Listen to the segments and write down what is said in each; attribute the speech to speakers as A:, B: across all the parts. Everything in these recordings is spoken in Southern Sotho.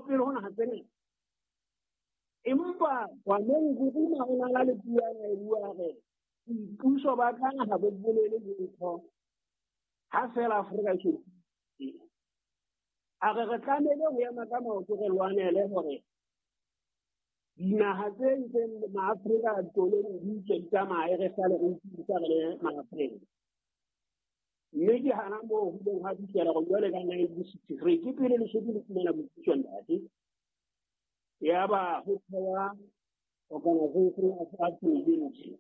A: pele ho naha tse ngata. Empa Kwame Nkrumah o na le puo ya e bua re boipuso ba ka ha bo bolele letho ha fela Afrika e a re re tlamehile ho ema ka maoto re lwanele hore dinaha tse ntseng maAfrika toleng di tswe di tsamaye re sale re ipidisa re le maAfrika. Mme ke hana moo ho ileng ha fihlela gore jwale ka 1963 ke pele Lesotho le fumana boipuso ntate. Ya ba ho thewa Organization of African Unity.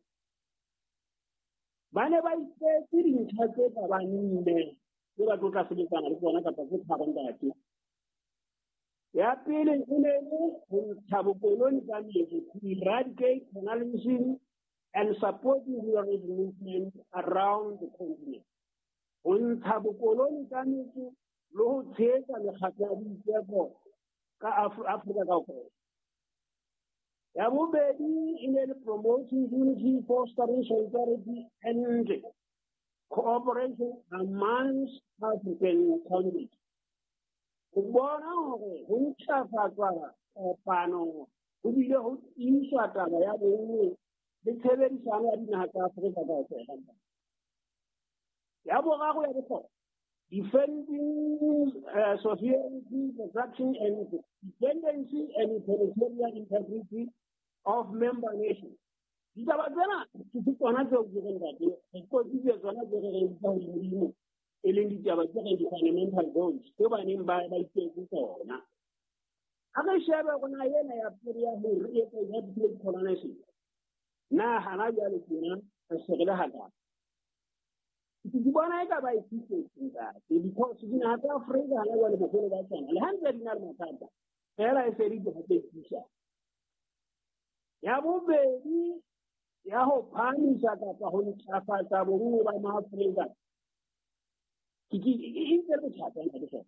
A: Ba ne ba itseetse dintlha tse ka bang nne tse ba tlo tla sebetsana le tsona kapa tse tharo ntate. Ya pele e ne le ho ntsha bokoloni ka metso, to eradicate colonialism and supporting liberation movement around the continent. Ho ntsha bokoloni ka metso le ho tshehetsa mekgatlo ya boitseko ka Afrika kaofela. Ya bobedi e ne le promoting unity, fostering solidarity and cooperation amongst African countries. Ho bona hore ho ntlafatswa kopano ho bile ho tiiswa taba ya bonngwe le tshebedisano ya dinaha tsa Afrika kaofela. Ya boraro ya bohlokwa, defending sovereignty, protection and dependency and territorial integrity of member nations. Ditaba tsena ke tsona tseo ke reng ntate re qotsitse tsona tse re reng tsa hodimo e leng ditaba tse reng di-fundamental goals tse ba neng ba itetse tsona. Ha re shebe rona ena ya pele ya ho re etsa ya colonization, na hana jwale tjena re se re le hakae? Ke bona eka ba e fihletse ntate, because dinaha tsa Afrika hana jwale boholo ba tsona le ha ntse di na le mathata fela e se di tloha tse thusa. Ya bobedi ya ho phahamisa kapa ho ntlafatsa bonngwe ba maAfrika ke e ntse le bothata ntate fela.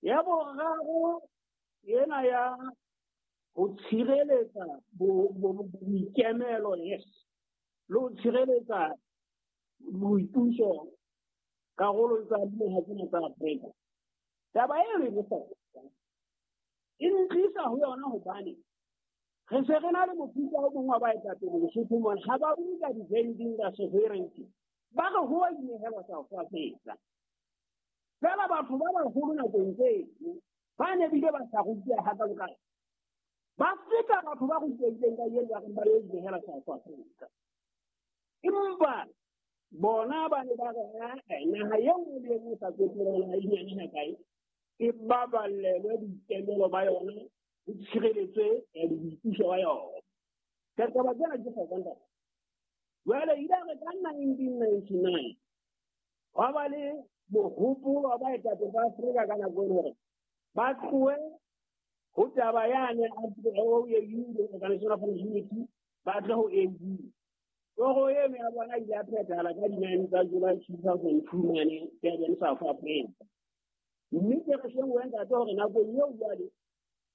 A: Ya boraro ena ya ho tshireletsa boikemelo, yes, le ho tshireletsa boipuso karolong tsa dinaha tsena tsa Afrika. Taba eno e bohlokwa, e ntlisa ho yona hobane re se re na le mofuta o mongwe wa baetapele Lesotho mona, ha ba bue ka defending the sovereignty, ba re ho a inehelwa South Africa. Fela batho ba baholo nakong tseno ba ne bile ba sa ruteha hakalo-kalo, ba feta batho ba rutehileng ka eno ba reng ba yo inehela South Africa. Empa bona ba ne ba re naha e nngwe le e nngwe sa tsotelle hore e nyane hakae, e baballelwe boikemelo ba yona, ho tshireletswe boipuso ba yona. Ka taba tsena ke hlokwa ntate. Jwale ile re ka 1999 hwa ba le mohopolo wa baetapele ba Afrika ka nako eno hore ba tlohe ho taba yane AU, Organization of African Unity, ba tle ho AU. Toro eno ya bona ile ya phethahala ka di-9 tsa July 2002 mane Durban, South Africa. Mme ke re sheng ntate hore nakong eo jwale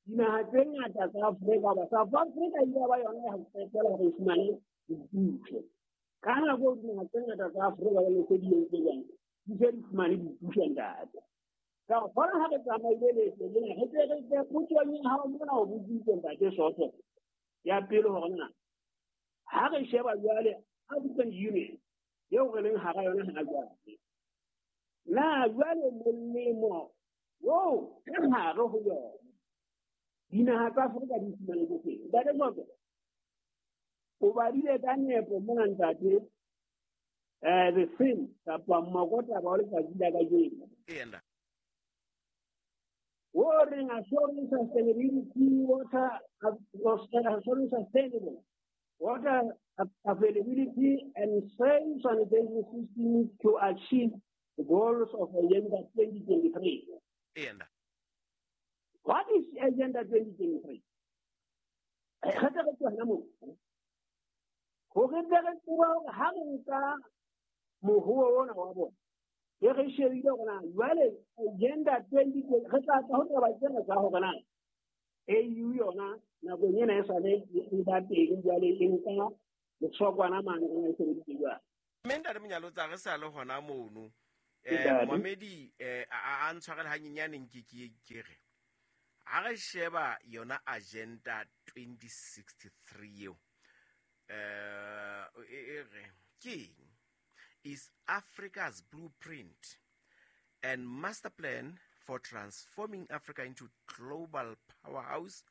A: dinaha tse ngata tsa Afrika ba South Africa ile ba yona ya ho qetela hore e fumane boipuso. Ka nako eo dinaha tse ngata tsa Afrika ba ne se di entse jwang, di se di fumane boipuso ntate. Ka gore gona ha re tsamaile leeto lena re tle re tle potsong ya hao mona o botsitse ntate Soto ya pele hore na ha re sheba jwale African Union eo re leng hara yona hana jwale, na jwale molemo oo ka hare ho yona dinaha tsa Afrika di fumane ke feng? Ntate Soto, o badile ka nepo mona ntate, the theme kapa mokotaba wa letsatsi la kajeno. O reng assuring sustainability water, assuring sustainable water availability and safe sanitation systems to achieve the goals of Agenda 2023. What is Agenda 2023? Re tle re tswe hona moo. Hore tle re tsebe hore ha re nka mohoo ona wa bona, e re shebile hore na jwale Agenda 2023 re tla tla ho taba tsena tsa hore na AU yona nakong ena e sale e ba teng jwale e nka letshwakwana mane rona e sebeditse jwang.
B: Mme ntate Monyalotsa re sa le hona mono, Momedi a ntshwarele hanyenyane nke ke re ha re sheba yona Agenda 2063 eo, e re ke eng? Is Africa's blueprint and master plan for transforming Africa into global powerhouse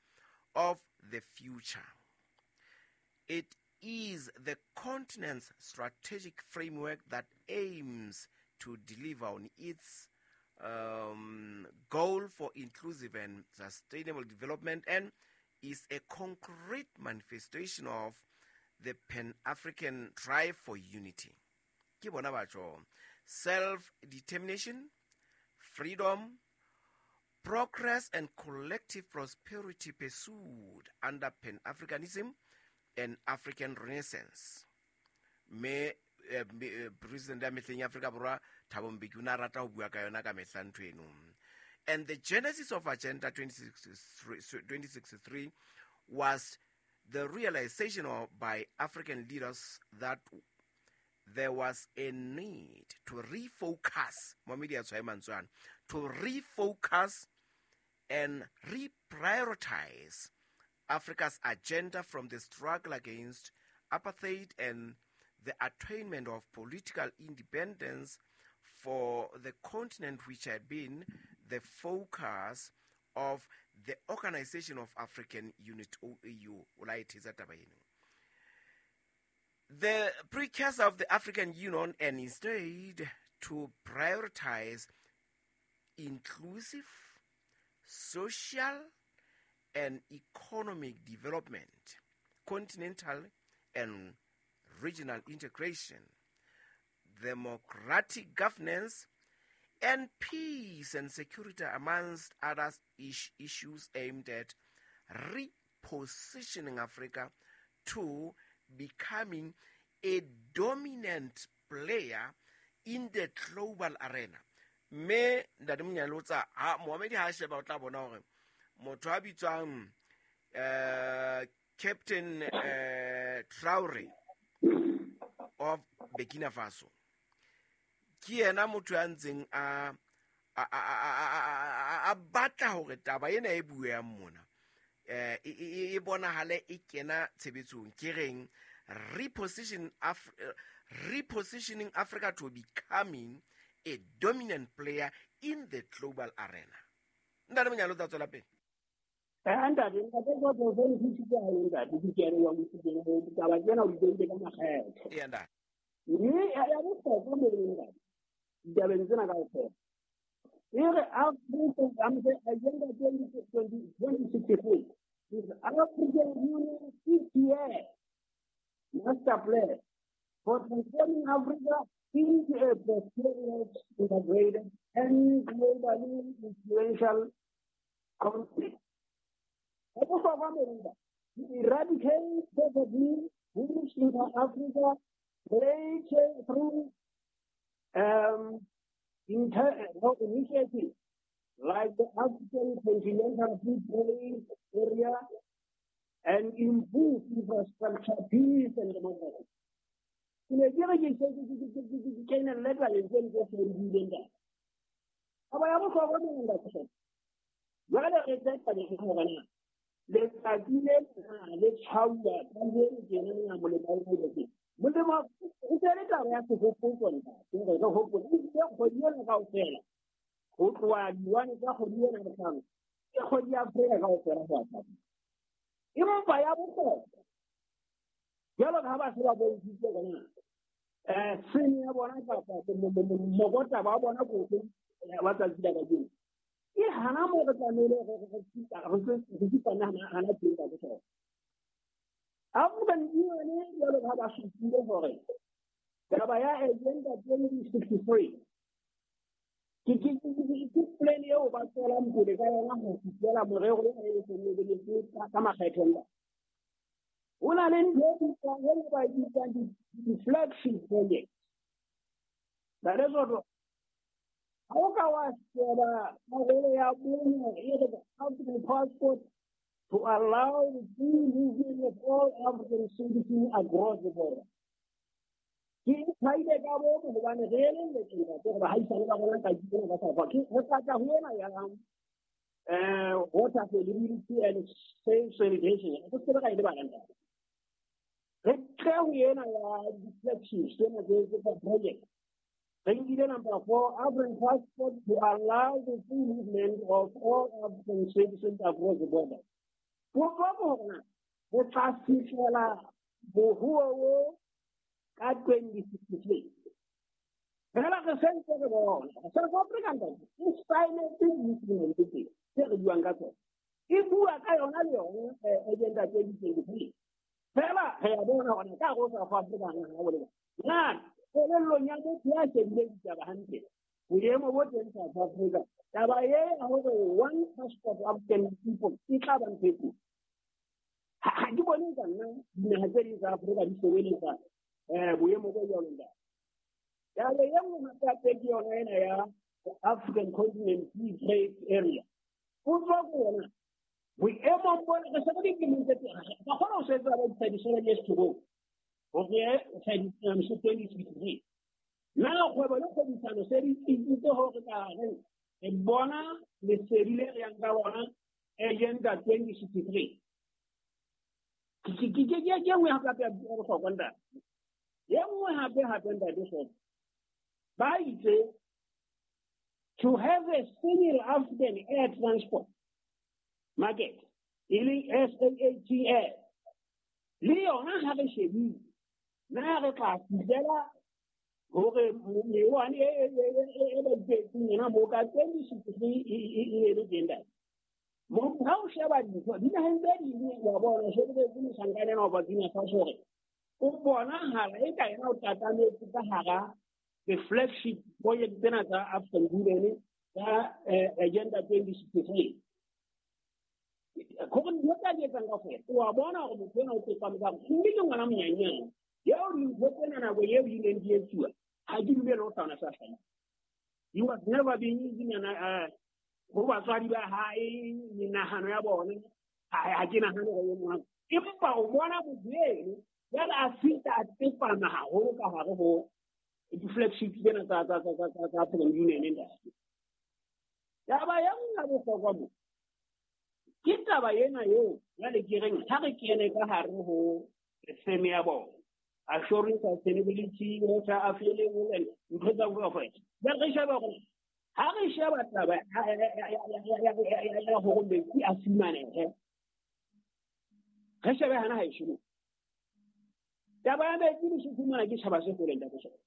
B: of the future. It is the continent's strategic framework that aims to deliver on its goal for inclusive and sustainable development and is a concrete manifestation of the Pan-African drive for unity. Ke bona batho, self-determination, freedom, progress and collective prosperity pursued under Pan-Africanism and African Renaissance. Me president ya mehleng ya Afrika Borwa, Thabo Mbeki, o ne a rata ho bua ka yona ka mehla ntho eno. And the genesis of Agenda 2063 was the realization by African leaders that there was a need to refocus, Momedi a tshwae mantswe ana, to refocus and reprioritize Africa's agenda from the struggle against apartheid and the attainment of political independence for the continent, which had been the focus of the Organization of African Unity, OAU. O la e thetsa taba eno. The precursor of the African Union, and instead to prioritize inclusive, social, and economic development, continental and regional integration, democratic governance, and peace and security, amongst other issues aimed at repositioning Africa to becoming a dominant player in the global arena. Mme ntate Monyalotsa, ha Mohamedi ha sheba, o tla bona hore motho a bitswang Captain Traore of Burkina Faso ke yena motho ya ntseng a batla hore taba ena e bueang mona e bonahale e kena tshebetsong, ke reng repositioning Africa to becoming a dominant player in the global arena. Ntate Monyalo, tsa tswela pele.
A: Ntate Kotlo, se nthusitse haholo, ntate. Ke a leboha mosikeng, taba tsena o di beile ka makgetho.
B: Eya, ntate.
A: Mme ya bohlokwa mo ntate, ditabeng tsena kaofela, e re Africa Agenda 2063 is African Union 6-year master plan for transforming Africa into a prosperous, integrated, and globally influential continent. Ya bohlokwa mo ntate, to eradicate poverty, boost inter-Africa trade through no, initiatives like the African Continental Free Trade Area and improve infrastructure, peace and democracy. Ke ne ke re ke ke kenelle tabeng tseno tse se di buileng, ntate. Taba ya bohlokwa mo ntate, jwale re tse tabeng hore na letsatsi le na le tshwauwa kajeno tjena na molemo o boletseng molemo o se le taba ya sehopotso, ntate, hore re hopole ebile kgwedi ena kaofela, ho tloha di-1 tsa kgwedi ena bohlano, ke kgwedi ya Afrika kaofela ho ya. Empa ya bohlokwa, jwalo ka ha ba se ba bontshitse hore na sene ya bona kapa mokotaba wa bona ko wa tsatsi la kajeno, ke hana mo re tlamehile re tsitsane hana teng ka bohlokwa. African Union, jwalo ka ha ba supile hore taba ya Agenda 2063 ke plan eo ba tswelang pele ka yona ho fihlela morero e seng e boletse ka makgetho. Ho na le ntho e bitswang, e ba e bitsang di-flagship project. Ntate, ha o ka wa sheba karolo ya bone, e re African passport to allow the free movement of all African citizens across the border. Ke thaile ka bomo hobane re elelletse ntate gore baahisane ba rona ka tsena ba sa ke re tla ho ena ya water availability and safe sanitation. Re se re ka e lebala ntate. Re tle ho ena ya di-flagship tsena tse tsa project. Re nkile number 4, African passport to allow the free movement of all African citizens across the border. Potso ke hore na re tla fihlela moruo o ka 2063. Fela re sentse re bona South Africa ntate e saenetse di-instrument tse tse re buang ka tsona. E bua ka yona le yona agenda 2023. Fela re a bona hore ka hare ho South Africa na ha o na kelellong ya motho ya shebileng ditaba hantle boemo bo teng South Africa taba e ya hore one passport African people e tla ba ntho e kotsi. Ha ke bone ka nna dinaha tse ding tsa Afrika di sebeletsa boemo bo jwalo ntate. Taba e nngwe hape hape ke yona ena ya African Continent Free Trade Area. Potso ke yona boemong bona re se re dilemong tse ba kgona ho sebetsa ba di-thirty-seven years to go hore 2063. Na kgwebo le kgwebisano se di tsitsitse hore ka hare re bona lesedi le re yang ka lona agenda 2063. Ke e nngwe hape hape ya bohlokwa ntate. E nngwe hape hape ntate Soto. Ba itse to have a single African air transport market e leng SAATM le yona ha re shebile na re tla fihlela hore mewane e ba ipetseng yona moo ka 2063 e le teng ntate. Ha o sheba dintho dinaheng tse ding wa bona shebeletse mohlankana ena wa Burkina Faso hore o bonahala e ka yena o tatametse ka hara the flagship project tsena tsa African Union tsa agenda 2063. Gore dintho tsa di etsang kaofela o a bona hore motho ena o tsepame ka mme ke ngwana monyenyane eo dintho tsena nako eo di neng di etsuwa ha ke dumele ho hlahana sa hlahile. He was never being using ho batswadi ba hae menahano ya bona ha ke nahane hore e mong empa o bona motho eno jwale a fihla a tsepama haholo ka hare ho di-flagship tsena tsa African Union ntate. Taba ya nngwe ya bohlokwa mo ke taba ena eo jwale ke reng ha re kene ka hare ho theme ya bona assuring sustainability, water available and ntho tsa kaofela. Jwale re sheba hore ha re sheba taba ya hore metsi a fumanehe re shebe hana ha e shimo. Taba ya metsi le fumana ke tjhaba se holeng ntate Soto.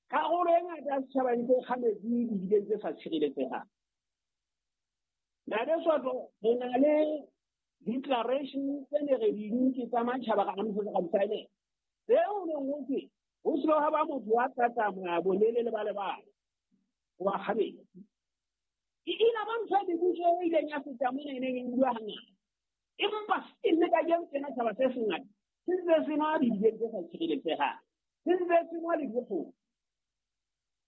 A: Karolo e ngata ya setjhaba e ntse e kga metsi didibeng tse sa tshireletsehang. Ntate Soto re na le declaration tse ne re di nke tsa matjhaba ka amohetse ka di saenela. Tseo neng ho thwe ho se ha ba motho wa tla tsamaya bolele le ba le bang wa kga metsi. E ile ba ntho e mebuso e ileng ya feta mona e neng e bua hangata. Empa still le kajeno tjena tjhaba se sengata se ntse se nwa didibeng tse sa tshireletsehang. Se ntse se nwa dikgogo.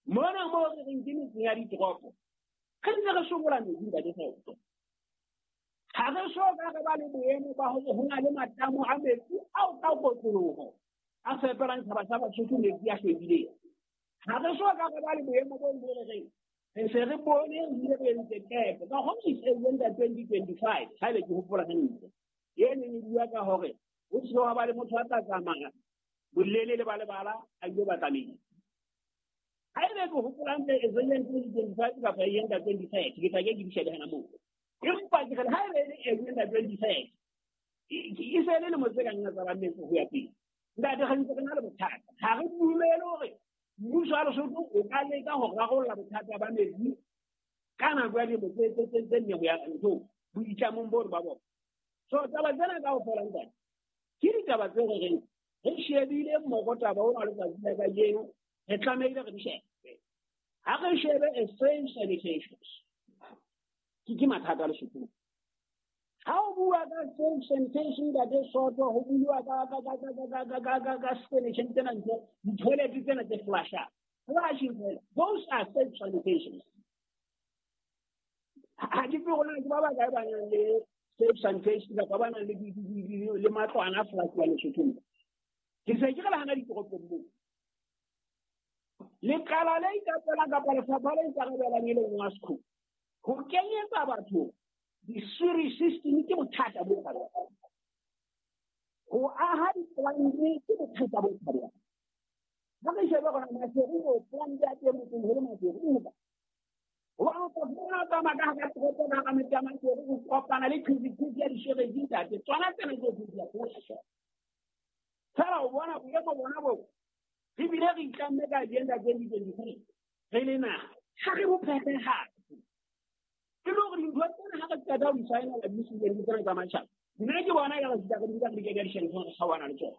A: Mona moo re reng ke metseng ya ditoropo re ntse re sokola metsi ntate Soto. Ha re so ka re ba le boemo ba hore ho na le matamo a metsi ao ka kotloloho a fepelang tjhaba sa Basotho metsi a hlwekileng. Ha re so ka re ba le boemo bo mo re reng re se re bone re ile re entse qeto ka ho agenda 2025 ha ile ke hopola hantle e neng e bua ka hore ho se ha ba le motho a tla tsamaya bolele le ba le bala a ile batla metsi. Ha ebe ke hopola hantle agenda 2025 kapa agenda 2030 ke tla ke di shebe hana moo. Empa ke re ha ebe e le agenda 2030 e se le lemo tse ka nna tsa ba metsi ho ya pele. Ntate re ntse re na le bothata. Ha re dumele hore mmuso wa Lesotho o ka leka ho rarolla bothata ba metsi ka nako ya dilemo tse nne ho ya ntho boitlamong bo re ba bona. So taba tsena kaofela ntate ke ditaba tse re reng re shebile mmogo taba ona letsatsi la kajeno re tlamehile re di shebe. Ha re shebe a safe sanitation ke mathata a Lesotho. Ha o bua ka safe sanitation ntate Soto ho bua ka sanitation tsena ntho di-toilet tsena tse flushang. Flushing toilet. Those are safe sanitations. Ha ke tsebe hore na ke ba bakae ba nang le safe sanitation kapa ba nang le matlwana a flush-wa Lesothong. Ke se ke re le hana ditoropong moo. Lekala le ikapelang kapa lefapha le ikarabelang e leng WASCO ho kenyetsa batho di-sewerage system ke bothata bo tshabehang. Ho aha di-plant ke bothata bo tshabehang. Ha re shebe gona Maseru o plant ya teng motseng ho le Maseru o ba. Hobane o tla fumana o tsamaya ka hara toropo ka hara metse ya Maseru o kopana le qhibiqhibi ya di-sewerage ntate. Tsona tsena tse di a flasha. Fela o bona boemo bona bo re bile re itlamme ka agenda 2023 re le naha ha re bo phethahatse. E le hore dintho tsena ha re qeta ho di saenela di tsena tsa matjhaba. Nna ke bona ka re fihla re di nka re di kenya ditjheleteng re kgaohana le tsona.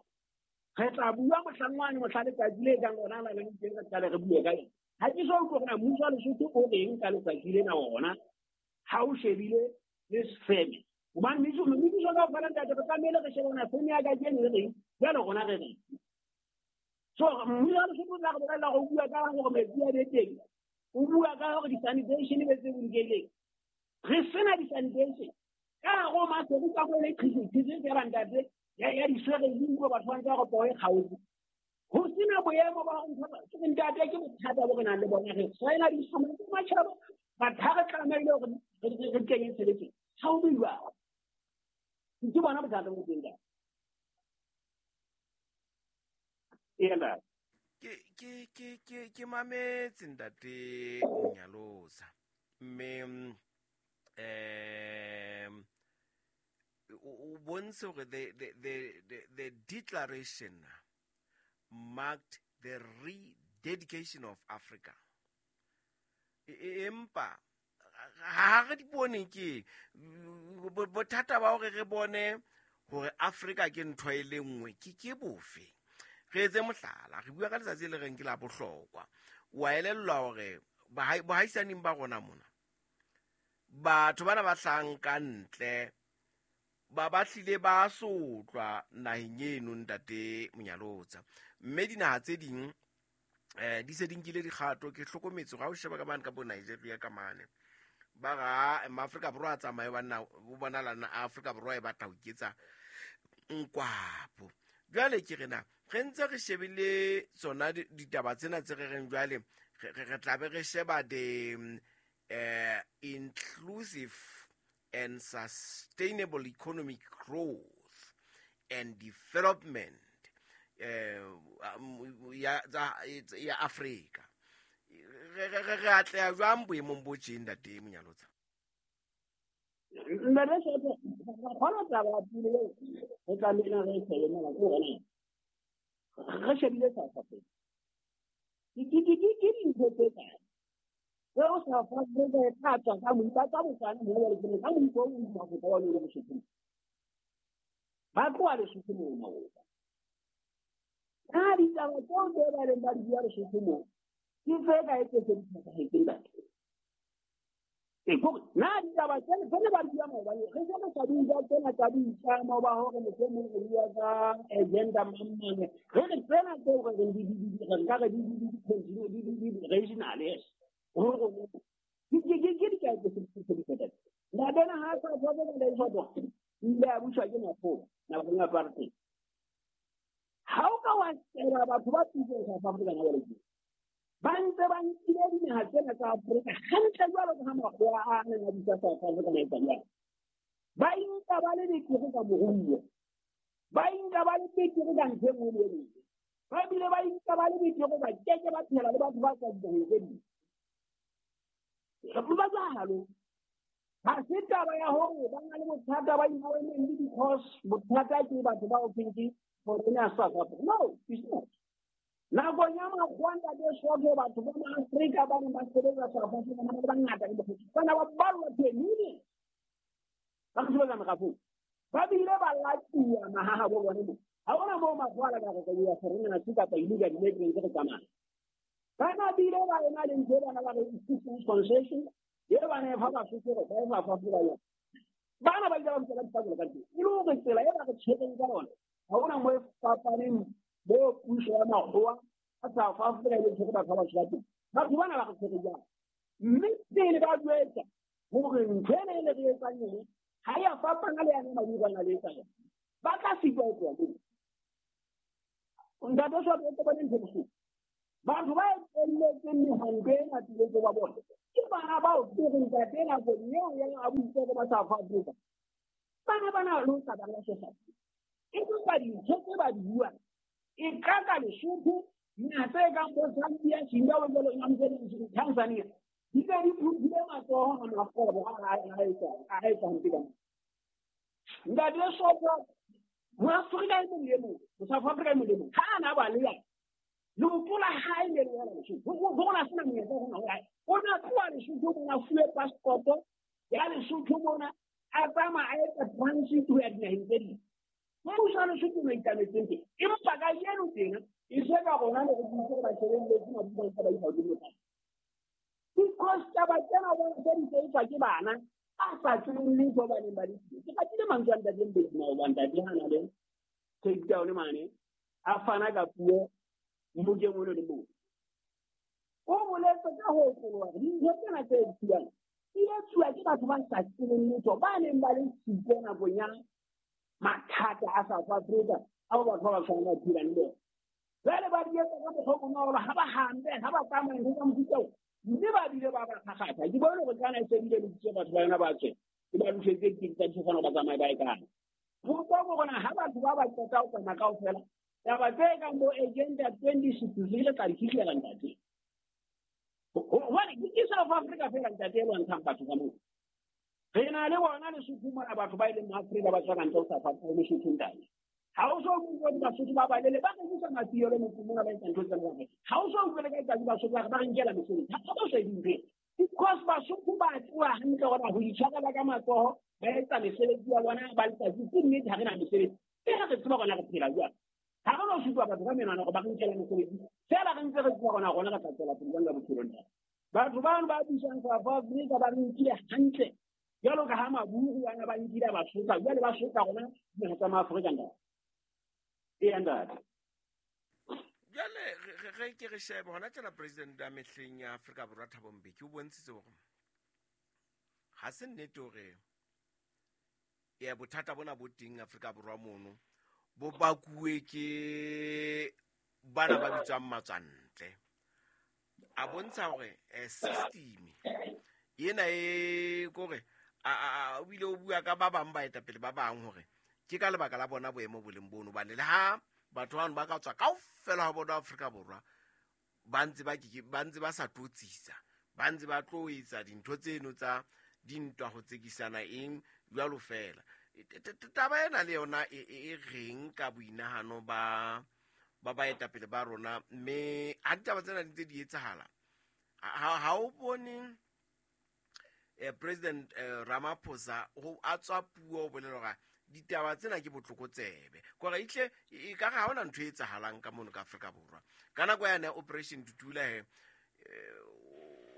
A: Re tla bua mohlang wane mohla letsatsi le kang lona la leng teng re qale re bue ka yona. Ha ke so utlwe hore na mmuso wa Lesotho o reng ka letsatsi lena ona ha o shebile le sefeme. Hobane mebuso kaofela ntate re tlamehile re shebe hore na feme ya kajeno e reng, jwale rona re reng. So mmuso wa Lesotho o tla re bolella hore o bua ka hore metsi a be teng, o bua ka hore di-sanitation e be tse bolokehileng. Re sena di-sanitation. Ka hare ho Maseru ka mo le qhiqhiqhi feela ntate ya di-sewerage utlwe batho ba ntse ba re poo e kgaotse. Ho sena boemo ba hore ntho ke ntate ke bothata bo re nang le bona. Re saena di-instrument tsa matjhaba, batho ha re tlamehile hore re kenye tshebetsong. Ha ho be jwalo. Ke bona bothata bo teng ka. Ee,
B: Ke mametse ntate Monyalosa mme o bontshe hore the declaration marked the rededication of Africa. Empa ha re di bone ke bothata ba hore re bone hore Africa ke ntho e le nngwe ke bofe. Re etse mohlala, re bua ka letsatsi le reng ke la bohlokwa. Wa elellwa hore bohaisaneng ba rona mona batho bana ba hlahang ka ntle ba hlile ba sotlwa naheng eno ntate Monyalotsa. Mme dinaha tse ding di se di nkile dikgato. Ke hlokometse hore ha o sheba ka mane ka bo Nigeria ka mane ba ra Maafrika Borwa a tsamaye banna o bonahala na Afrika Borwa e batla ho iketsa nkwapo. Jwale ke re na re ntse re shebile tsona ditaba tsena tse re reng jwale re tla be re sheba the inclusive and sustainable economic growth and development ya Afrika. Re atleha jwang boemong bo tjeng ntate Monyalotsa?
A: Ntate Soto, kgona taba ya pele eo re tlamehileng re e shebe mona ke hore na re shebile South Africa. Ke dintho tse kae tseo South Africa e tla tswa ka moipa tsa botswana mo jwale ke ka moipa o mo Afrika wa le Lesotho. Ba tloha Lesotho moo maoba. Ka ditaba tseo tse ba leng ba di bua Lesotho moo ke tse kae tse se di phethahetseng batho. Na ditaba tsena tse ne ba di bua maobane re se re sa di utlwa tsena tsa boitlamo ba hore mohlomong re bua ka agenda mang mang. Re re tsena tseo re reng re nka re di regional, yes. Hore ke dikae tse se di phethahetseng. Ntate ena ha a sa tswa ka le e ile a buswa ke makgowa nakong ya apartheid. Ha o ka wa sheba batho ba pusong South Africa na jwale ba ntse ba nkile dinaha tsena tsa Afrika hantle jwalo ka ha makgowa a neng a busa South Africa na etsa jwalo. Ba inka ba le betere ka moruo, ba inka ba le betere ka ntho e nngwe le e nngwe, ba bile ba inka ba le betere ba keke ba phela le batho ba tswang dinaheng tse ding. Ba jwalo. Ha se taba ya hore ba na le bothata ba environment because bothata ke batho ba o thweng ke foreigner South Africa. No, it's not. Nakong ya makgowa ntate Soto, batho ba Maafrika ba neng ba sebetsa South Africa ba ne ba le bangata le bokgotsi. Bana ba ballwa to a million. Ba sebetsa merafong. Ba bile ba latuwa mahaha bo bone mo. Ha hona moo makgowa a la ka re ya foreigner se kapa illegal immigrants re tsamaya. Bana bile ba ena le ntho e bana ba re concession e ba ne fa Basotho hore ba e fa fa yona. Bana ba ile ba ntse ba dipakelo ka teng. E le hore tsela e ba re tshwereng ka yona ha hona moo e fapaneng bo puso ya makgowa a South Africa e le tshwere batho ba batsho ba teng. Batho bana ba re tshwere jwang? Mme pele ba jwetsa hore ntho ena e le re etsang yone ha e a fapana le yane Maburu a na le etsa yona. Ba tla sitwa ho tloha moo. Ntate Soto o bone ntho bohloko. Batho ba etelletseng mehwanto ena tiletse ba bona ke bana bao ke reng ntate nakong eo ya a buitse ba South Africa. Bana bana le ho sa ba la South e empa dintho tse ba di buang e ka ka Lesotho naha tse kang bo Zambia, Zimbabwe jwalo Tanzania di be di phuthile matsoho a makgobo a etsa hampe ka Ntate Soto Moafrika e mong le e mong, South Africa e mong le mong ha a na ba le yena leoto la hae le le wela Lesotho ho rona sena monyetla hona ho hae o na tloha Lesotho mona fuwe passport ya Lesotho mona a tsamaya a etsa transit ho ya dinaheng tse ding. Mmuso wa Lesotho o itametseng teng empa kajeno tena e se ka rona le re butse re ba shebelletse mabukang tsa ba isa hodimo tsa because taba tsena bona tse di tsetswa ke bana ba sa tsebeng letho ba neng ba le siyo. Ke ratile mantswe a ntate Mbeki maoba ntate ha na le Cape Town mane a fana ka puo mmokeng ono le mong. O boletse ka ho otloloha hore dintho tsena tse etsuwang di etsuwa ke batho ba sa tsebeng letho ba neng ba le siko nakong ya mathata a South Africa ao batho ba ba tshwanang ba phelang le bona. Jwale ba di etsa ka mokgwa o bonolo ha ba hampe ha ba tsamaya ntho tsa mofuta oo mme ba bile ba ba kgakgatha. Ke bone hore kana e se bile lokisitse batho ba yona ba tswe e ba lokisetse ditekesi tsa difofane ba tsamaye ba ye kae. Potso ke hore ha batho ba ba qeta ho tsamaya kaofela taba tse kang bo agenda 2063 le tla di fihlela ntate. Hobane ke South Africa fela ntate e lwantshang batho ka moo. Re na le bona Lesotho mona batho ba e leng Maafrika ba tswa ka ntle ho South Africa Lesotho ntate. Ha o so utlwe Basotho ba balele ba rekisa mafielo motseng mona ba etsa ntho tsa bona. Ha o so utlwe le ka letsatsi Basotho ba re ba re nkela mesebetsi. Ha ba so dintho. Because Basotho ba tseba hantle hore ho itshwarela ka matsoho ba etsa mesebetsi ya bona ba letsatsi ke nnete ha re na mesebetsi. Fela re tseba rona re phela jwang. Ha re no supa batho ka menwana hore ba re nkela mesebetsi. Fela re ntse re tseba rona rona re tla tswela pele jwang ka bophelong ntate. Batho bano ba busang South Africa ba re nkile hantle jwalo ka ha maburu ana ba nkile ba sotla jwale ba sotla rona dinaha tsa Maafrika ntate. Eya ntate.
B: Jwale ge ke re shebe hona tjena president ya mehleng ya Afrika Borwa Thabo Mbeki o bontshitse hore ha se nnete hore ya bothata bona bo teng Afrika Borwa mono bo bakuwe ke bana ba bitswang matswantle. A bontsha hore system ena e kore a o bile o bua ka ba bang baetapele ba bang hore ke ka lebaka la bona boemo bo leng bono hobane le ha batho bano ba ka tswa kaofela ha bona Afrika Borwa ba ntse ba ke ba ntse ba sa tlotsisa ba ntse ba tlo etsa dintho tseno tsa dintwa ho tsekisana eng jwalo fela. Taba ena le yona e reng ka boinahano ba ba baetapele ba rona mme ha ditaba tsena di ntse di etsahala ha o bone President Ramaphosa ho a tswa puo o bolela hore ditaba tsena ke botlokotsebe kore itle e ka ha hona ntho e etsahalang ka mono ka Afrika Borwa ka nako yane ya Operation Dudula he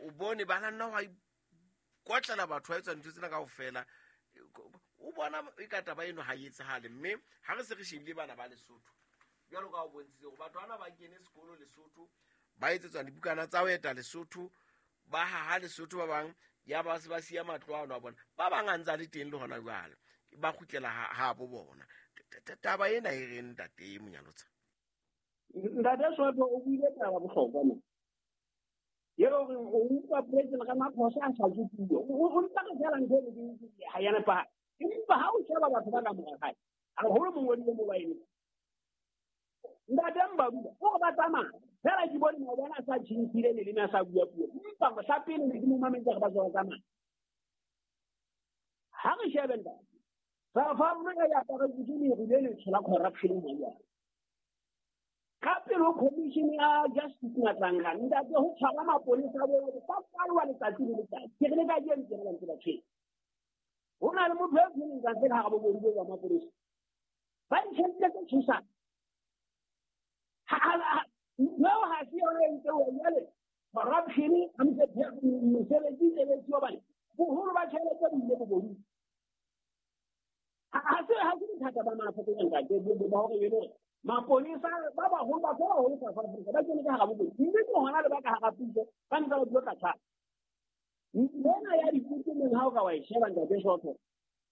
B: o bone ba nna wa ikotlela batho ba etsa ntho tsena kaofela o bona e ka taba eno ha e etsahale mme ha re se re shebile bana ba Lesotho jwalo ka o bontshitse hore batho bana ba kene sekolo Lesotho ba etsetswa dibukana tsa ho eta Lesotho ba haha Lesotho ba bang ya ba se ba siya matlo ano a bona ba bang a ntse a le teng le hona jwale ba kgutlela ha bo bona. Taba ena e reng ntate Monyalotsa?
A: Ntate Soto o buile taba bohlokwa mo eo re o utlwa President Ramaphosa a sa tswe puo o mpa re fela ntho e ke ha ya nepahala empa ha o sheba batho ba ka mora hae haholo mongodi le mobaene ntate Mbabula o re ba tsamaya fela ke bone maobane a sa tjhentjhile leleme a sa bua puo empa sa pele ne ke mo mametse re ba tswa tsamaya. Ha re shebe ntate South Africa ya aparetswe ke leru le letsho la corruption hona jwale. Ka pele ho commission ya Justice Matlanga ntate ho tshwara mapolesa bo ba kwalwa letsatsi le letsatsi. Ke re le kajeno tjena ba ntse ba tshwere. Ho na le motho e tshwereng ntate ka hara bobodu bo ba mapolesa. Ba ditjhelete tse tshosang. Ntho eo ha se yona e ntse ho jwale corruption ha mosebetsi sebetsi hobane boholo ba tjhelete bo ile bobodu. Ha se bothata ba Maafrika ntate ba hore e le maponesa ba baholo batho ba baholo South Africa ba kene ka hara bobodu mme ke hona le ba ka hara puso ba ntse ba dula ka tshwana. Lena ya dikutu meng ha o ka wa e sheba ntate Soto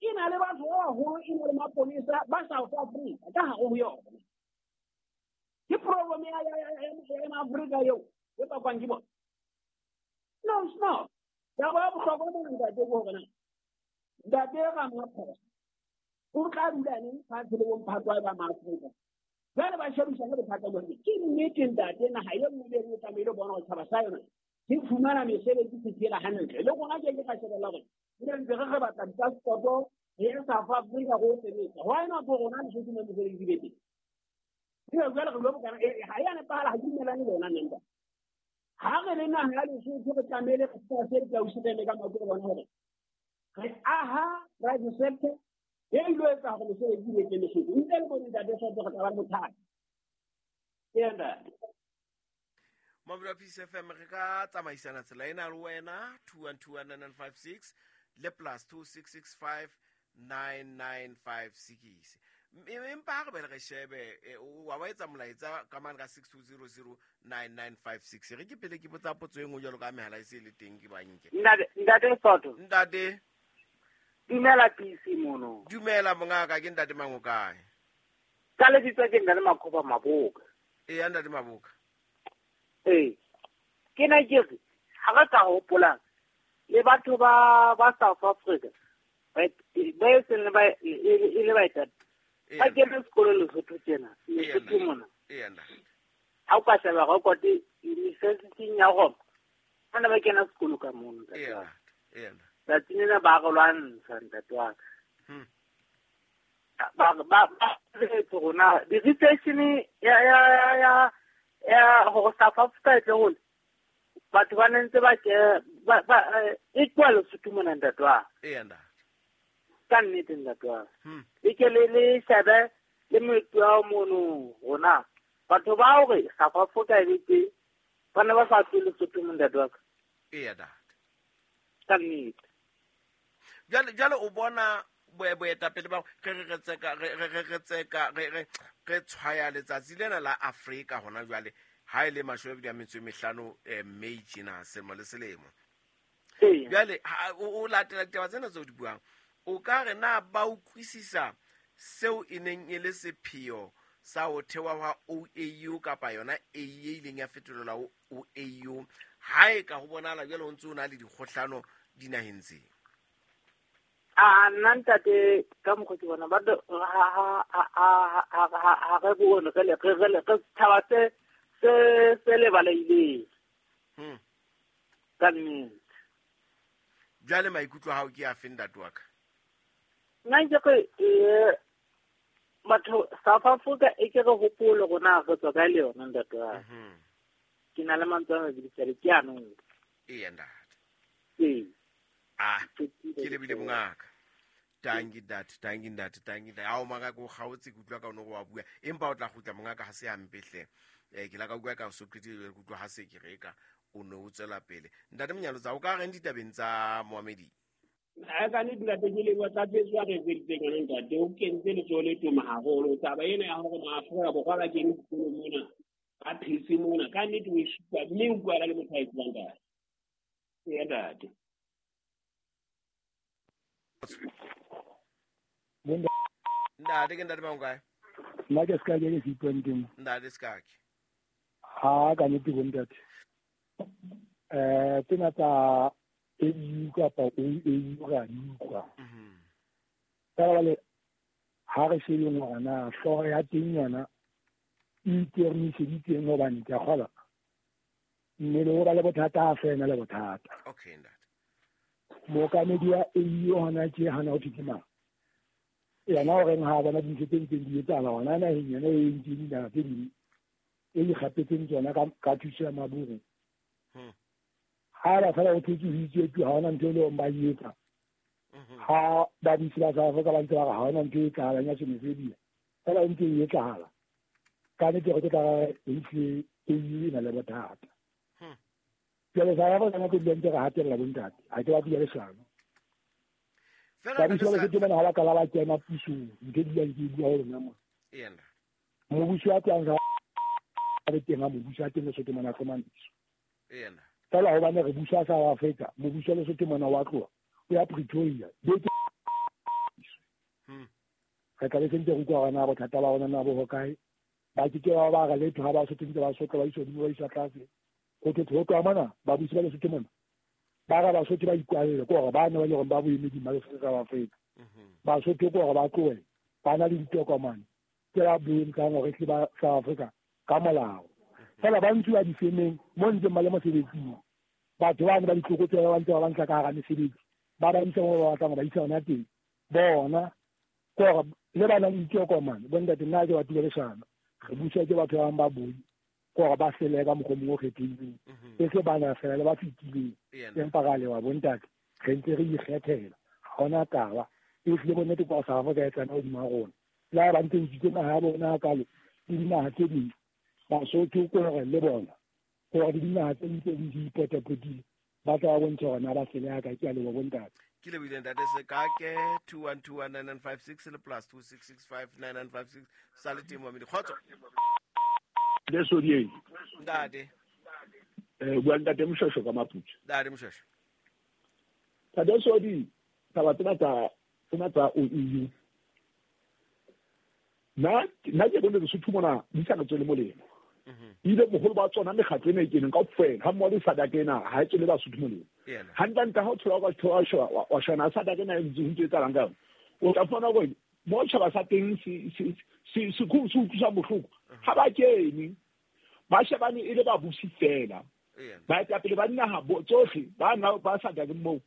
A: e na le batho ba baholo e na le maponesa ba South Africa ka hare ho yona. Ke problem ya Afrika eo e bakwang ke bona. No, it's not. Taba ya bohlokwa mona ntate ke hore na ntate Ramaphosa o tla dula neng fatshe le bomphato ba maAfrika. Jwale ba shebisane bothata bo ke nnete ntate, naha e nngwe le e nngwe tlamehile bona gore tšhaba sa yona se fumana mesebetsi se phela hantle. Le rona ke ke ka shebella gore re ntse re batla dipaspoto re ye South Africa go sebetsa. Why not go rona Lesotho mo mesebetsi be teng? Ebe jwale re lo bokana ha ya nepahala, ha ke dumellane le yona nna. Ha re le naha ya Lesotho re tlamehile re se ditausi ka maoto re bona hore re aha private sector e ilo etsa hore mesebetsi e teng Lesotho. Ntle le bone ntate Soto re tla ba le bothata. Ee ntate.
B: Mabelo a Peace FM re ka tsamaisana tsela ena le wena 2121956 le plus 26659956. Empa ha re be re shebe wa ba etsa molaetsa ka mane ka 62009956. Re ke pele ke botsa potso e nngwe jwalo ka mehala e se le teng ke banke.
A: Ntate Soto.
B: Ntate.
A: Dumela PC mono.
B: Dumela mongaka, ke ntate mang o kae?
A: Ka lebitso ke ntate Makhoba Maboka.
B: Ee, ntate Maboka.
A: Ee. Ke na ke re ha re ka hopola le batho ba South Africa ba e seng ba e le baetapele ba kene sekolo Lesotho tjena, Lesotho mona.
B: Ee, ntate.
A: Ha o ka sheba record university ya Roma, bana ba kena sekolo ka mono.
B: Ee, ntate.
A: Tsatsing lena ba re lwantsha ntate wa ka. Ba rona di-research ya hore South Africa e tle hole, batho ba ne ntse ba ke ba e tloha Lesotho mona ntate wa ka.
B: Ee, ntate.
A: Ka nnete ntate wa ka. E ke le shebe le moetlo wa mono rona. Batho ba hore South Africa e be teng, ba ne ba sa tswe Lesotho mo ntate wa ka.
B: Ee, ntate.
A: Ka nnete.
B: Jwale o bona boetapele ba re tseka re tshwaya letsatsi lena la Afrika hona jwale ha ile 25 May tjena selemo le selemo. Jwale o latela ditaba tsena tseo di buang, o ka re na ba utlwisisa seo e neng e le sepheo sa ho thewa hwa OAU kapa yona A e ileng ya fetolelwa ho OAU, ha e ka ho bonahala jwale ho ntse ho na le dikgohlano dinaheng tse?
A: A nna ntate ka mokgwa ke bona ba ha re bone re tshaba se lebaleileng. Ka nnete.
B: Jwale maikutlo a hao ke afe ntate wa ka?
A: Nna ke re batho South Africa e ke re hopole rona re tswa kae le yona ntate wa ka. Ke na le mantswe a mabedi fela ke ano.
B: Ee ntate.
A: Ee.
B: Ah, ke lebile mongaka. Tangi ntate, tangi ntate, tangi ntate. Ao mongaka o kgaotse ke utlwa ka ono wa bua. Empa o tla kgutla mongaka ha se hampe hle. Ke la ka utlwa ka so qetile ke utlwa ha se ke reka o no o tswela pele. Ntate Monyalotsa o ka reng ditabeng tsa Mohamedi?
A: Ha ka nnete ntate ke leboha tlatsetso ya re etseditseng yona ntate. O kentse letsoho le toma haholo. Taba ena ya hore maAfrika Borwa ba kene sekolo mona, ba phetse mona, ka nnete o e supa mme o utlwala le motho a e tsebang ntate. Ee ntate.
B: Ntate ke ntate mang kae?
C: Nna ke ska ke se ipuang.
B: Ntate Skake.
C: Ha ka nnete bo ntate. Tsena tsa AU kapa OAU ra di utlwa. Ka jwale ha re shebeng hore na hlooho ya teng yona e itermiseditseng hobane ke a kgolwa mmele o ba le bothata ha fela le bothata.
B: Okay ntate.
C: Mookamedi wa AU hona tje hana ho thwe ke mang? Yena o reng ha bona dintho tse ntseng di etsahala hona naheng yona e entseng dinaha tse ding e ikgapetseng tsona ka thuso ya maburu. Ha ba fela ho thotse ho itswe tu ha hona ntho e leng ba e etsa. Ha ba busi ba South Africa ba ntse ba re ha hona ntho e etsahalang ya xenophobia. Fela e ntse e etsahala. Ka nnete re tla re ehlile AU e na le bothata. Jwale South Africa nako e ntse re hatella bontate. Ha ke batle leshano.
B: Fela
C: ba busi ba Lesotho bana ha ba kala ba kena pusong, ntho e dulang ke e bua ho lona mona.
B: Ee ntate.
C: Mobusi wa teng ha be teng ha mobusi wa teng Lesotho mona hlomamiso.
B: Ee ntate.
C: Fela hobane re busa South Africa, mobusi wa Lesotho mona wa tloha o ya Pretoria. Re tla be sentse re utlwa hore na bothata ba rona na bo hokae. Ba ke ke ba re letho ha Basotho ntse ba sotla ba iswa hodimo ba iswa tlase. Ho thwe ho tloha mona babusi ba Lesotho mona ba re Basotho ba ikwalle ke hore ba ne ba le hore ba boemeding ba Lesotho South Africa. Basotho ke hore ba tlohe ba na le ditokomane tse ba bontshang hore ke ba South Africa ka molao. Fela ba ntshiwa difemeng mo ntseng ba le mosebetsing. Batho ba ne ba ditlokotsebe ba ntse ba ba ntsha ka hara mesebetsi ba ba isa mo ba batlang ho ba isa hona teng. Bona ke hore le ba nang le ditokomane bontate nna ke batho ba leshano. Re buswa ke batho ba bang ba boi ke hore ba sele ka mokgwa o mongwe o kgethehileng. E se bana fela le ba fetileng. Empa ra lewa bontate re ntse re ikgethela. Ha hona taba. E hlile bonnete kwa South Africa e tsena hodima rona. Le ha ba ntse utswitse naha ya bona hakalo le dinaha tse ding. Basotho ke hore le bona ke hore le dinaha tse ding tse ding di ipotapotile ba tla ba bontsha hore na ba sele hakae. Ke a leboha bontate.
B: Ke lebohile ntate Sekake. 21219956 le plus 26659956 sa le teng momedi. Kgotso.
D: Le Sodieng.
B: Ntate.
D: Bua ntate Moshweshwe ka Maputswe.
B: Ntate Moshweshwe.
D: Ntate Sodi, taba tsena tsa OEU. Nna ke bone Lesotho mona di sa re tswele molemo. Ile boholo ba tsona mekgatlo ena e keneng kaofela ha mmoho le SADC ena ha e tswele Basotho molemo. Hantlentle ha o thola ka thola wa shona SADC ena e ntse ho ntse etsahalang ka yona. O tla fumana hore mo tjhaba sa teng se se utlwisa bohloko. Ha ba kene ba shebane e le babusi fela. Baetapele ba dinaha tsohle ba na ba SADC moo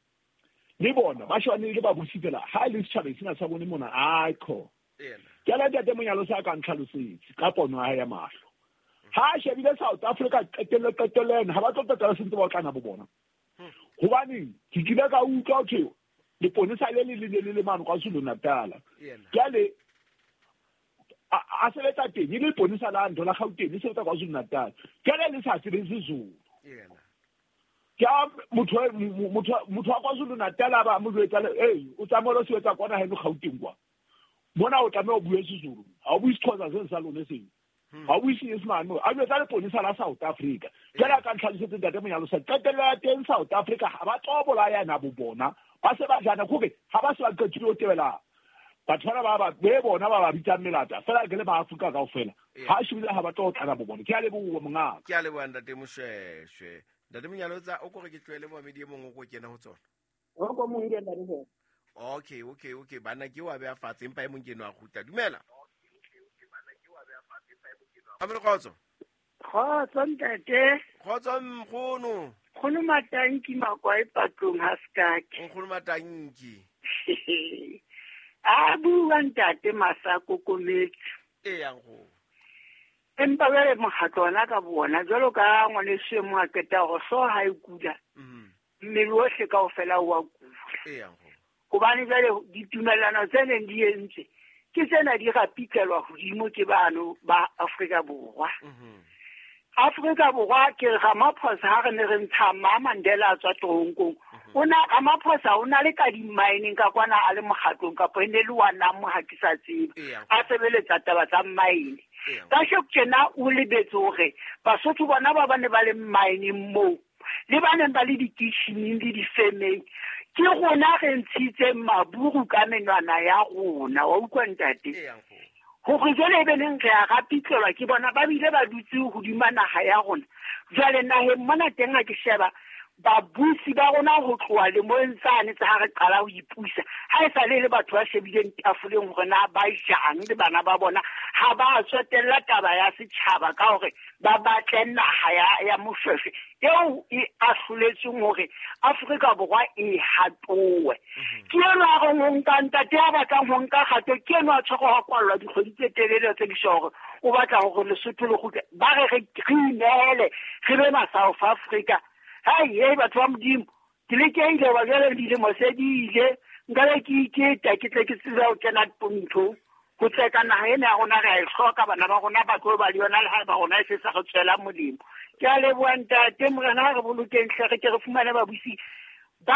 D: le bona ba shebane e le babusi fela. Ha e le setjhaba sena sa bone mona aikho. Ke la ntate Monyalo sa ka ntlhalosetse ka pono ya hae ya mahlo. Ha a shebile South Africa qetello ena ha ba tlo qetela se ntse ba otlana bo bona. Hobaneng ke kile ka utlwa ho thwe leponesa le le le le mane KwaZulu Natal. Jwale a sebetsa teng e le leponesa la ntho la Gauteng le sebetsa KwaZulu Natal. Jwale le sa sebetse Zulu. Ke a motho wa KwaZulu Natal a ba mo jwetsa le o tsamaye o sebetsa kwana haeno Gauteng kwa. Mona o tlameha o bue Sezulu. Ha o bue Sexhosa seno sa lone seno. Ha o bue Senyesemane. A jwetsa leponesa la South Africa. Jwale a ka ntlhalosetse ntate Monyalo sa qetello ya teng South Africa ha ba tlo bolayana bo bona. Ba se ba jana kore ha ba se ba qetile ho tebela batho bana ba be bona ba ba bitsang melata fela ke le ba Afrika kaofela. Ha shebile ha ba tlo tlana bo bona. Ke a leboha mongaka.
B: Ke a leboha ntate Moshweshwe. Ntate Monyalo tsa o kore ke tlohele moamedi e mong o ko kena ho tsona.
A: O ko mong ke ntate.
B: Okay. Bana ke wa beha fatshe empa e mong ke no a kgutla. Dumela. Amelo kgotso.
E: Kgotso ntate.
B: Kgotso nkgono.
E: Nkgono Matanki Makwae patlong ha Sekake.
B: Nkgono Matanki.
E: A bua ntate Masako Kometse.
B: Eya nkgono.
E: Empa jwale mokgatlo ona ka bona jwalo ka ngwaneso e mong a qeta hore hlooho ha e kula. Mmele ohle kaofela o a kula.
B: Eya nkgono.
E: Hobane jwale ditumellano tse neng di entswe ke tsena di rapitlelwa hodimo ke bano ba Afrika Borwa. Afrika Borwa ke Ramaphosa ha re ne re ntsha Ma Mandela a tswa toronkong. O na Ramaphosa o na le ka di-mining ka kwana a le mokgatlong kapa e ne le wa nang ha ke sa tsebe. A sebeletsa taba tsa mine. Kasheko tjena o lebetse hore Basotho bona ba bane ba le mining moo le ba neng ba le dikitjhining le difemeng ke rona re ntshitseng maburu ka menwana ya rona wa utlwa ntate. Hore jwale e be neng re a rapitlelwa ke bona ba bile ba dutse hodima naha ya rona. Jwale naheng mona teng ha ke sheba babusi ba rona ho tloha lemong tsane tsa ha re qala ho ipusa ha e sa le le batho ba shebileng tafoleng hore na ba jang le bana ba bona ha ba tsotella taba ya setjhaba ka hore ba batle naha ya Moshweshwe eo e ahloletsweng hore Afrika Borwa e hatowe. Ke enwa a reng ho nka ntate ya batlang ho nka kgato ke enwa a tshwerwe ho kwallwa dikgwedi tse telele tse di hore o batla hore Lesotho le kgutle ba re re inehele re be ma South Africa. Hai batho ba Modimo ke lekehile hoba jwale dilemo se di ile nka be ke iketa ke tle ke tsebe ho kena nthong ho tseka naha ena ya rona re a e hloka bana ba rona ba tlo ba le yona le ha ba rona e se sa re tswela molemo. Ke a leboha ntate Morena ha re bolokeng hle re ke re fumane babusi ba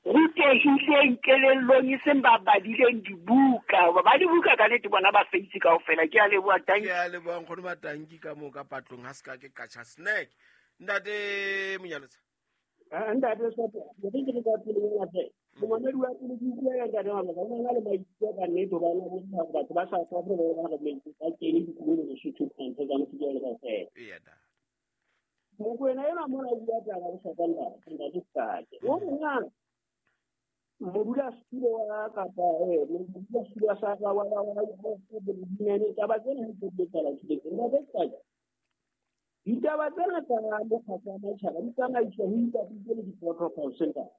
E: rutehileng kelellong e seng ba badileng dibuka hoba ba dibuka ka nnete bona ba feitse kaofela. Ke a leboha tanki.
B: Ke a leboha nkgono Matanki ka moo ka patlong ha se ka ke katjha snack. Ntate Monyalotsa.
A: Ntate Sopo, ke ke ka pele ya tse. Momamedi wa pele ke utlwela ntate Mabasa, o na le maikutlo ka nnete hobane a bontsha hore batho ba South Africa ba ba re metsi ba kene dikolong Lesotho ntho tsa Mosotho le kaofela.
B: Eya ntate.
A: Mokwena enwa mona o bua taba bohlokwa ntate, ntate Sake. O re na modulasetulo wa kapa modulasetulo wa sa wa wa wa wa taba tsena ha di etsahala tjhelete. Ntate Sake, ditaba tsena tsa mokgatlo wa matjhaba di tsamaiswa ho ipapisitswe le di-protocol center.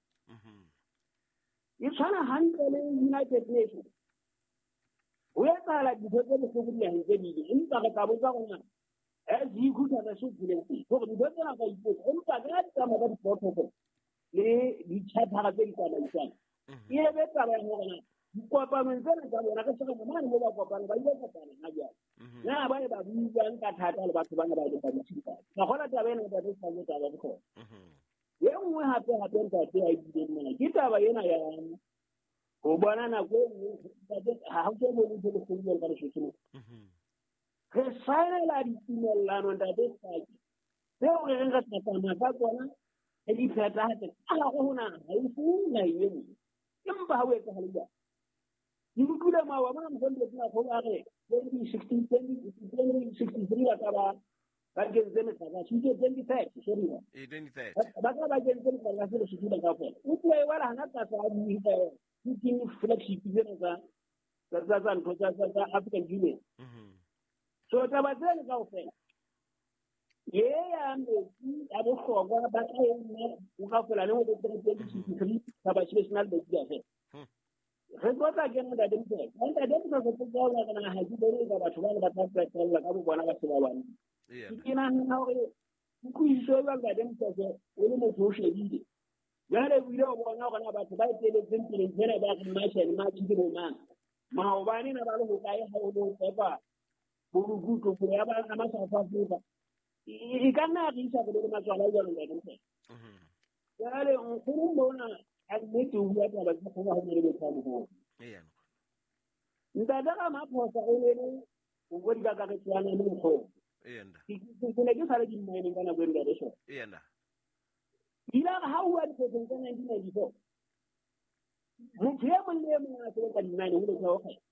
A: E tshwana hantle le United Nations. Ho etsahala dintho tse bohloko dinaheng tse ding, empa re tla botsa hore na as dikhutha tsa se teng hore dintho tsena ka ipotsa, empa ka di tsamaya ka di-protocol le di-charter tse di tsamaisang. E be taba ya hore na dikopanong tsena tsa bona re se re mane mo ba kopana ba ile kopana ha jwale. Na ba ne ba buang ka thata le batho bana ba ileng ba ditshika. Ka gona taba ena ntate Sake taba ya bohlokwa. E nngwe hape hape ntate a ileng mona ke taba ena ya ho bona nako e nngwe ntate ha ho so bone ntho e kgolo jwalo ka Lesotho mona. Re saenela ditumellano ntate Sake tseo re reng re tla tsamaya ka tsona re di phethahatse ka hare ho naha, ha e fuwe naheng e nngwe. Empa ha ho etsahale jwalo. Ke utlwile maoba mona Mohlomphehdi Makgolo a re 2016, 2063 ba ka ba ba kentse metlakase. Ke 2030, sorry.
B: E 2030.
A: Ba ka ba kentse metlakase Lesotho ba kaofela. O tloha e wela hana tlasa a bue ka yona. Ke flagship tsena tsa ntho tsa African Union. So taba tsena kaofela ye ya metsi a bohlokwa ba tla e nna o kaofela le ho 2063 taba national metsi a fela. Re tlo tla kena ntate Motshekga. Ntate Motshekga ke tlo bua ka ha ke bone ka batho ba ne ba tla qetella ka bo bona ba se ba bane. Ke nahana hore kutlwisiso e jwang ntate Motshekga o le motho o shebile. Jwale o ile o bona hore na batho ba eteletseng pele ntho ena ba reng March and March ke bo mang. Maobane na ba le hokae ha o lo fepa borukutlo go ya ba ama South Africa. E ka nna ya re isa pele le matswala jwalo ntate Motshekga. Jwale nkgono mona a nnete o bua taba tse kgolo ha o le motho a moholo. Ntate Ramaphosa o ne le o bua dikakaretso ya le nkgono. Ke ne ke sa le dimmaeneng ka nako e ntate Shoko. Ile a re ha o bua diphetoho tsa 1994 motho e mong le e mong a sebetsa dimmaeneng ho letho ho kgetha.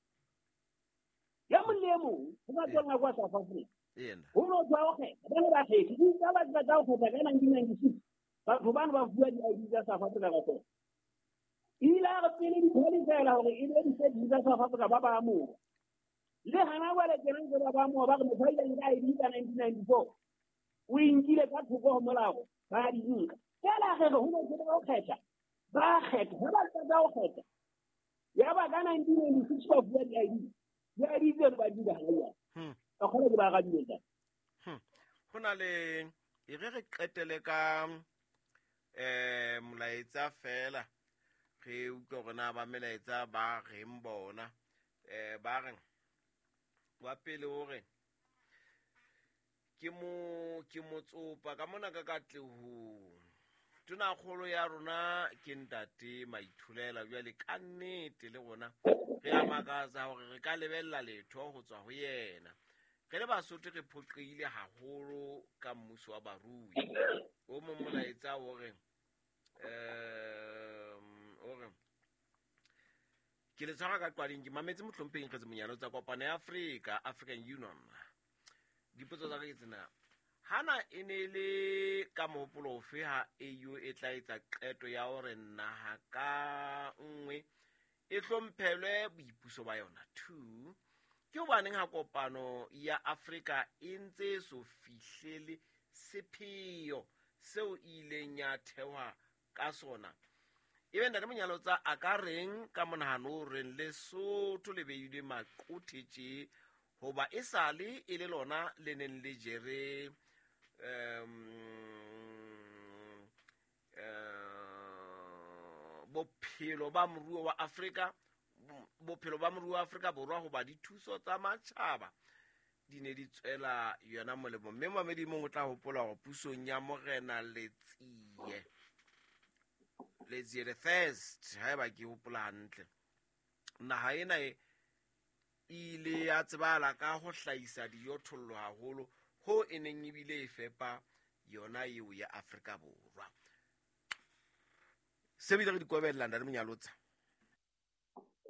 A: E mong le e mong ho ka tswella kwa South Africa. Ho no tswa ho kgetha. Ba ne ba kgethe. Di tsa ba tsa ho kgetha ka 1996. Batho bana ba fuwa di-ID tsa South Africa kaofela. Ile a re pele di qualify-ela hore e be di-citizen tsa South Africa ba ba amoha. Le hana jwale tjena ntse ba ba amoha ba re motho a ileng ka ID ka 1994 o e nkile ka thoko ho molao ba di nka. Feela re re ho no tsebe ho kgetha. Ba kgetha, ha ba qeta ho kgetha. Yaba ka 1996 ba fuwa di-ID. Di-ID tseno ba di nka hana jwale. Ka kgona ke ba arabile ntate.
B: Ho na le e re re qetele ka molaetsa fela re utlwe hore na ba melaetsa ba reng bona. Ba reng wa pele hore ke motsopa ka mona ka Katlehong. Tonakgolo ya rona ke ntate Maithulela jwale ka nnete le rona re a makatsa hore re ka lebella letho ho tswa ho yena. Re le Basotho re phoqehile haholo ka mmuso wa barui. O mong molaetsa o re ke le tshwara ka qwading ke mametse Mohlomphehing Kgetsi Monyane tsa kopano ya Afrika, African Union. Dipotso tsa ka ke tsena. Hana e ne le ka mohopolo ofe ha AU e tla etsa qeto ya hore naha ka nngwe e hlomphelwe boipuso ba yona? 2, ke hobaneng ha kopano ya Afrika e ntse e so fihlele sepheo seo e ileng ya thehwa ka sona? Ebe ntate Monyalotsa a ka reng ka monahano o reng Lesotho le beilwe maqothe tje hoba e sale e le lona le neng le jere bophelo ba moruo wa Afrika, bophelo ba moruo wa Afrika Borwa hoba dithuso tsa matjhaba di ne di tswela yona molemo. Mme mamedi mong o tla hopola hore pusong ya Morena Letsie the First, haeba ke hopola hantle, naha ena e ile ya tsebahala ka ho hlahisa dijothollo haholo ho e neng ebile e fepa yona eo ya Afrika Borwa. Se bile re di kobella ntate Monyalotsa.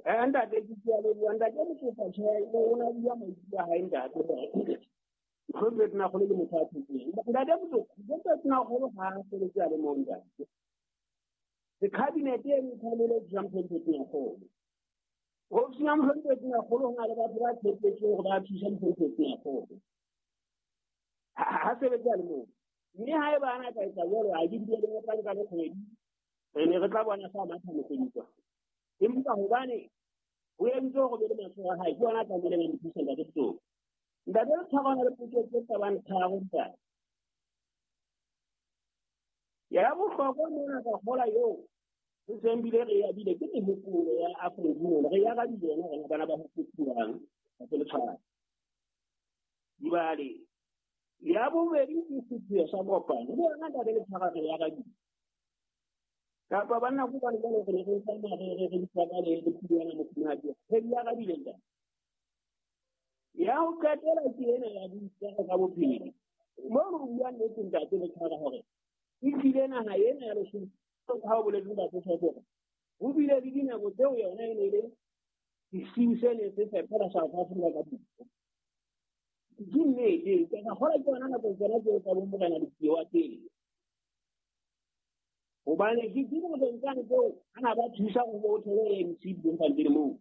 A: Ntate ke a leboha ntate Motsofa tjhe o na bua maikutlo a hae ntate. Mohlomphehi Tonakgolo ke motho a phetseng. Ntate Motsofa, Mohlomphehi Tonakgolo ha a sebetse a le mong ntate. The cabinet e ntlhanele jang Mohlomphehi Tonakgolo. Ofising ya Mohlomphehi Tonakgolo ho na le batho ba tshepetsweng hore ba thusa Mohlomphehi Tonakgolo. Ha sebetse a le mong. Mme haeba a na ka etsa jwalo, ha ke bile le tla nka le kgwedi, re ne re tla bona sa matha mokgwedi. Empa hobane ho entse hore be le matsoho a hae, ke ona a tlamehileng a mo thusa ntate Motsofa. Ntate re tshwarana le potso tse kabang tharo ntate. Ya bohlokwa mona ka kgola eo re seng bile re abile ke mehopolo ya African Union, re ya arabile yona rona bana ba ho fetolang ntate le tshwana. Jwale ya bobedi ke sepheo sa kopano, le yona ntate le tshwara re ya arabile. Kapa banna ko bane jwale re ne re tsamaya re re ditshwara le le phulwana mofumahadi, re di arabile ntate. Ya ho qetela ke ena ya boitshwaro ka bophelo. Moo re buang nnete ntate le tshwara hore e tlile naha ena ya Lesotho ha o boletse ntate Tshwete ho bile le dinako tseo yona e ne le sesiu se ne se fepela South Africa ka dijo. Ke nnete, ka kgola ke yona nako tsona tseo tsa bo Morena Letsie wa pele. Hobane ke dinakong tsane tseo a na ba thusa ho bo thole ANC Bloemfontein moo.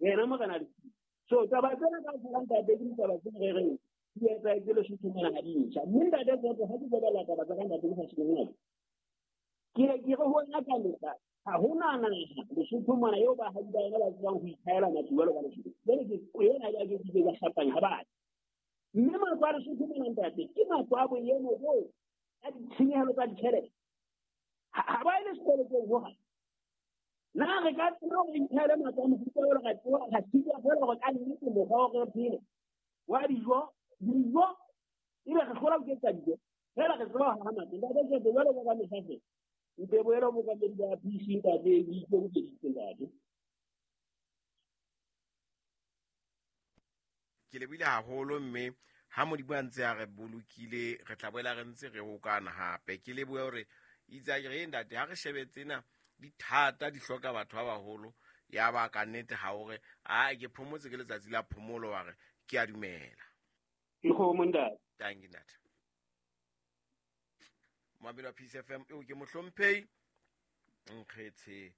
A: Yena Morena Letsie. So taba tsena ka fela ntate ke ditaba tse re reng di etsahetse Lesotho mona ha di ntjha. Mme ntate Tshwete ha ke shebella taba tsa ka ntate ke sa shebeng ke re ho wena ka mehla ha hona naha Lesotho mona eo baahi ba yona ba tsebang ho ithaela matlo jwalo ka Lesotho. Jwale ke ena ya ke ke ka hlapanya ha batho. Mme matlo a Lesotho mona ntate ke matlo a boemo boo ka ditshenyehelo tsa ditjhelete. Ha ba ile sekolotong hohang. Na re ka tseba hore ithaele matlo a mofuta oo re tseba ra sitwa feela hore ka nnete mokgwa wa re phele wa dijo dijo ebe re hlola ho ketsa dijo feela re tseba ho haha matlo. Ntate Tshwete jwalo ka mehla feela nte boela mookamedi ba PC ntate o ikemiseditse ntate.
B: Ke lebohile haholo mme ha Modimo a ntse a re bolokile re tla boela re ntse re hokana hape. Ke lebohe hore itse a ke re ntate ha re shebe tsena di thata di hloka batho ba baholo ya ba ka nnete ha o re a ke phomotse ke letsatsi la phomolo wa re ke a dumela.
A: Ke kgomo ntate.
B: Thank you ntate. Moamedi wa Peace FM eo ke mohlomphehi Nkgetshe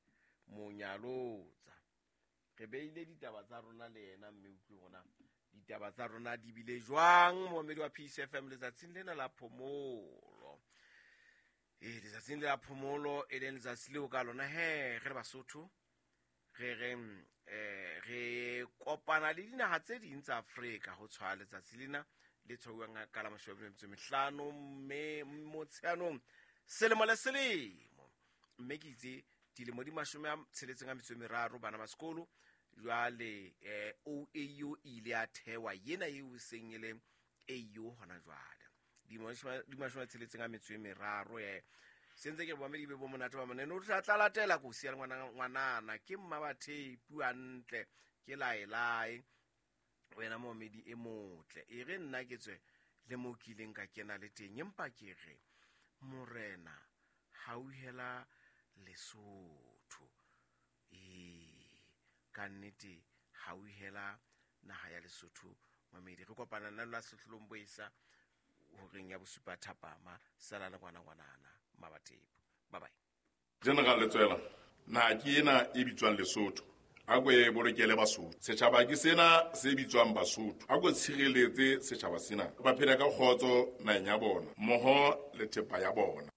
B: Monyalotsa. Re beile ditaba tsa rona le yena mme utlwe rona ditaba tsa rona di bile jwang moamedi wa Peace FM letsatsing lena la phomolo. Letsatsing la phomolo e leng letsatsi leo ka lona he re le Basotho re reng re kopana le dinaha tse ding tsa Afrika ho tshwaya letsatsi lena le tshwauwang ka la 25 mme Motsheanong selemo le selemo. Mme ke itse dilemo di 63 bana ba sekolo jwale OAU e ile ya thewa yena eo seng e le AU hona jwale di 63 sentse ke boamedi be bo monate ba monene o tla latela ko siya ngwanana ke mma ba thepu hantle ke laelae wena moamedi e motle e re nna ke tswe le mo kileng ka kena le teng empa ke re morena hauhela Lesotho ka nnete hauhela naha ya Lesotho mamedi re kopana nna la sehlolong boisa horeng ya bosupa thapama sala le ngwana ngwanana mabatepo bye bye.
F: General Letsoela na ke ena e bitswang Lesotho a ko e bolokele Basotho setjhaba ke sena se bitswang Basotho a ko tshireletse setjhaba sena ba phela ka kgotso naheng ya bona mmoho le thepa ya bona.